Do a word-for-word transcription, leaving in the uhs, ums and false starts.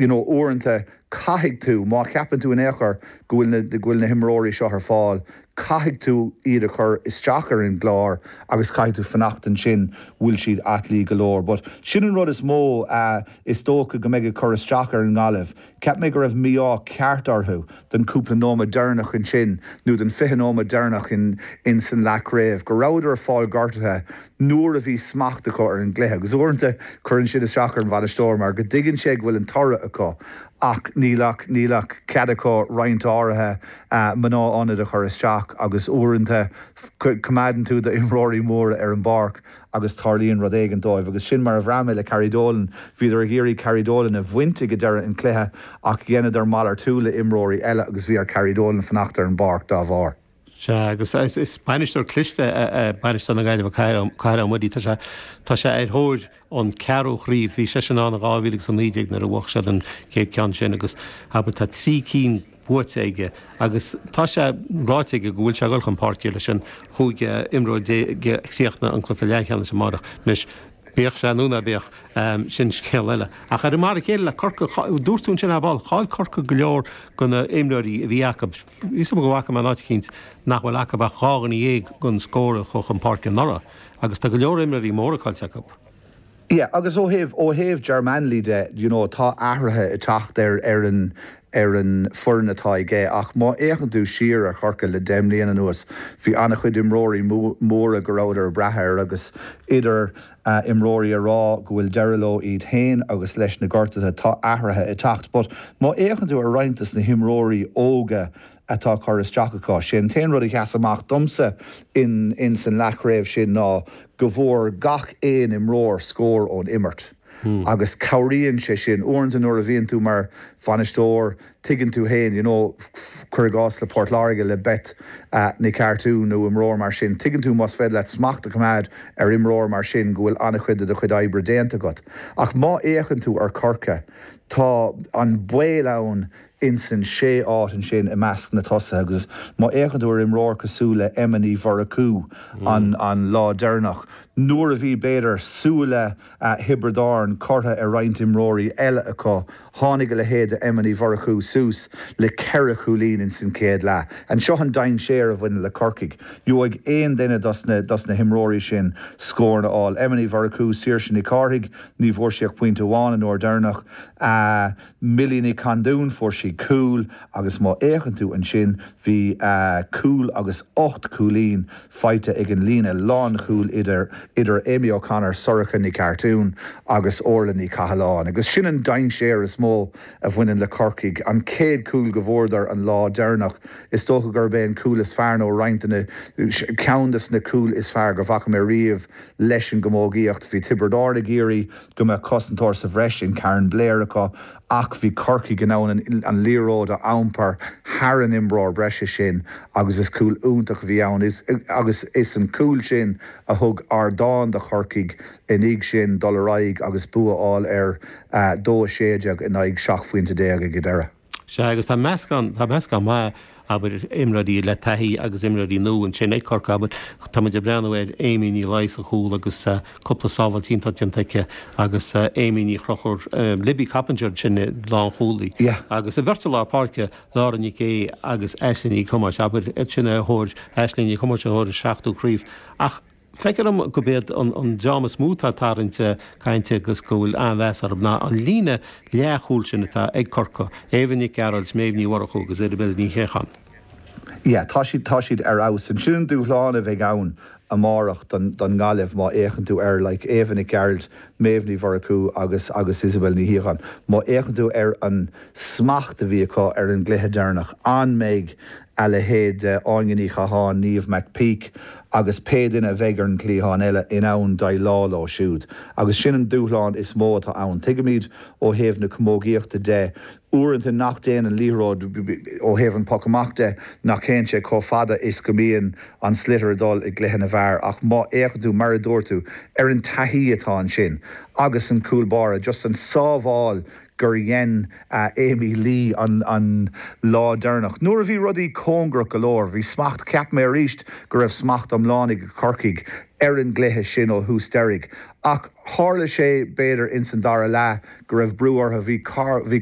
you know, uaireanta caithfidh tú má cheapann tú in aon chor go bhfuil na go bhfuil na himreoirí seo ar fáil, caithfidh tú iad a chur isteach ar an gclár agus caithfidh tú fanacht ansin bhfuil siad aclaí go leor. But sin an rud is mó uh, is dócha go mbeidh ag cur isteach ar an nGaillimh. Cheap mé go raibh mí-ádh ceart orthu den cúpla nóiméad deireanach ansin nó den fiche nóiméad deireanach in, in san leathchraobh, go rabhadar ag fáil gortaithe nuair a bhí smacht acu ar an gcluiche, agus uaireanta cuireann sin isteach ar an bhainisteoir mar go dtuigeann sé go bhfuil an toradh acu ach níl ach níl ach cead acu roinnt áirithe uh, mná ionad a chur isteach agus uaireanta coimeádann tú d'imreoirí móra ar an bpáirc agus tarlaíonn rud éigin dóibh agus sin mar a bhraith mé le Carrie Dolan bhíodar ag iarraidh Carrie Dolan a bhaint ag deireadh an chluiche ach dheineadar malartú le imreoirí eile agus bhí ar Carrie Dolan fanacht ar an bpáirc dá bharr. Sea agus is bainisteoir cliste bainisteoir na Gaillimhe Cathal Ó Muirí tá sé tá sé ar thóir an ceathrú craobh bhí sé sin ann dhá mhíle agus a naoi déag nuair a bhuaigh siad an chéad ceann sin agus abair tá trí cinn buaite aige agus tá sé ráite aige go bhfuil sé ag dul chun páirce leis an chúig imreoir déag chríochnaigh an cluiche leathcheannais amárach anois bíodh sé nó ná bíodh sin scéal eile. Ach ar mar a chéile le Corcaigh dúirt tú ansin ar ball chaill Corcaigh go leor de na himreoirí a bhí acu. Is go bhfaca mé an áit eicínt nach bhfuil acu ach dhá dhuine dhéag den scór a chuaigh chun páirce anuraidh, agus tá go leor imreoirí móra caillte acu. Yeah, agus ó thaobh ó thaobh Ger Manley de you know, tá athruithe ag teacht ar ar an ar an foireann atá aige ach má fhéachann tú siar ar Chorcaigh le deich mbliana anuas bhí an-chuid imreoirí móra go rabhadar ag brath air agus idir uh, imreoirí a rá go bhfuil deireadh leo iad féin agus leis na gortuithe tá athruithe ag teacht, but má fhéachann tú ar roinnt des na himreoirí óga atá curtha isteach acu sin t-aon rud a sheas amach domsa in, in san leathchraobh sin ná go bhfuair gach aon imreoir scór ón imirt. Hmm. agus cabhraíonn sé sin uaireanta nuair a bhíonn tú mar bhainisteoir tuigeann tú féin you know, cuir i gcás le Port Láirge le Beth uh, Nic Artú nó imreoir mar sin tuigeann tú más féidir leat smacht a choimeád ar imreoir mar sin go bhfuil an-chuid de do chuid oibre déanta agat. Ach má fhéachann tú ar Chorcaigh tá an baol ann insan sé áit ansin i measc na tosaithe agus má fhéachann tú ar imreoir cosúil le Emma Ní Mhurchú mm. an, an lá deireanach. Nuair a bhí b'fhéidir súile uh, Thiobraid Árann curtha ar roinnt imreoirí eile acu tháinig a leithéid Emma Ní Mhurchú suas le ceithre chúilín in san chéad leath. Anseo an dainséar a bhaineann le Corcaigh. Gheobhaidh aon duine dos na, dos na himreoirí sin scór a fháil. Emma Ní Mhurchú Saoirse Nic Cárthaigh ní bhfuair sí ach pointe amháin an uair deireanach. Uh, Millie Ní Chandún fuair sí cúl agus má fhéachann tú ansin bhí uh, cúl agus ocht cúilín faighte ag an líne lánchúil idir idir Amy O'Connor Sorcha Ní Cartún agus Orla Ní Cathaláin. agus sin an dainséar is mó a bhaineann le Corcaigh an chéad cúl go bhfuaireadar an lá deireanach is dócha gurb é an cúl is fearr nó roinnt ceann des na cúil is fearr go bhfaca mé riamh leis an gcamógaíocht bhí Tiobraid Árann ag iarraidh go mbeadh cosantóir sa bhreis in Karen Blair acu ach bhí Corcaigh in ann an, an liathróid a iompar thar an imreoir breise sin agus is cúl iontach a bhí ann is, agus is an cúl sin a thug ardán do Chorcaigh ina dhiaidh sin dul ar aghaidh agus bua a fháil ar uh, dó a sé déag in aghaidh seacht bpointe déag ag deireadh. Sea agus tá meascán tá meascán maith abair imreoirí le taithí agus imreoirí nua ansin ag Corcaigh abair tá muid ag breathnú ar Amy Ní Laoi sa chúl agus uh, cúpla sábháil iontach déanta aici agus uh, Amy Ní Chrochúir um, Libby Coppinger sin lánchúlaí Yeah. agus a bheirt lár páirce Laura Ní Gé agus Aisling Ní Chumáis abair sin a thóir Aisling Ní Chumáis a thóir a seachtú craobh ach Feictear dom gurb iad an, an dream is mó atá ag tarraingt cainte agus go bhfuil an-mheas orthu ná an líne leathchúil sin atá ag Corcaigh, Éabha Nic Gearailt, Méabh Ní Mhurchú agus Isabel Ní Chéacháin. Ja, tá siad tá siad ar fheabhas an sin dúshlán a bheidh ann amárach don, don Ghaillimh má fhéachann tú ar like, Éabha Nic Gearailt, Méabh Ní Mhurchú agus agus Isabel Ní Chéacháin. Má fhéachann tú ar an smacht a bhí acu ar an gcluiche deireanach an mbeidh a leithéid Áine Ní Chatháin Niamh McPeak agus pé duine a bheidh ar an gcliathán eile in ann déileáil leo siúd. Agus sin an dúshlán is mó atá ann. Tuigimid ó thaobh na camógaíochta de uaireanta nach dtéann an liathróid ó thaobh an poc amach de nach dtéann sé chomh fada is go mbíonn an sliotar ag dul i gcluiche na bhfear ach má fhéachann tú mar a dúirt tú ar an taithí atá ansin agus an cúl báire just an sábháil gur dhein uh, Amy Lee an, an lá deireanach. Nuair a bhí rudaí cóngarach go leor, bhí smacht cheap mé arís go raibh smacht iomlán ag Corcaigh ar an gcluiche sin ó thús deireadh. Ach tharla sé b'fhéidir ins an dara leath go raibh brú orthu bhí bhí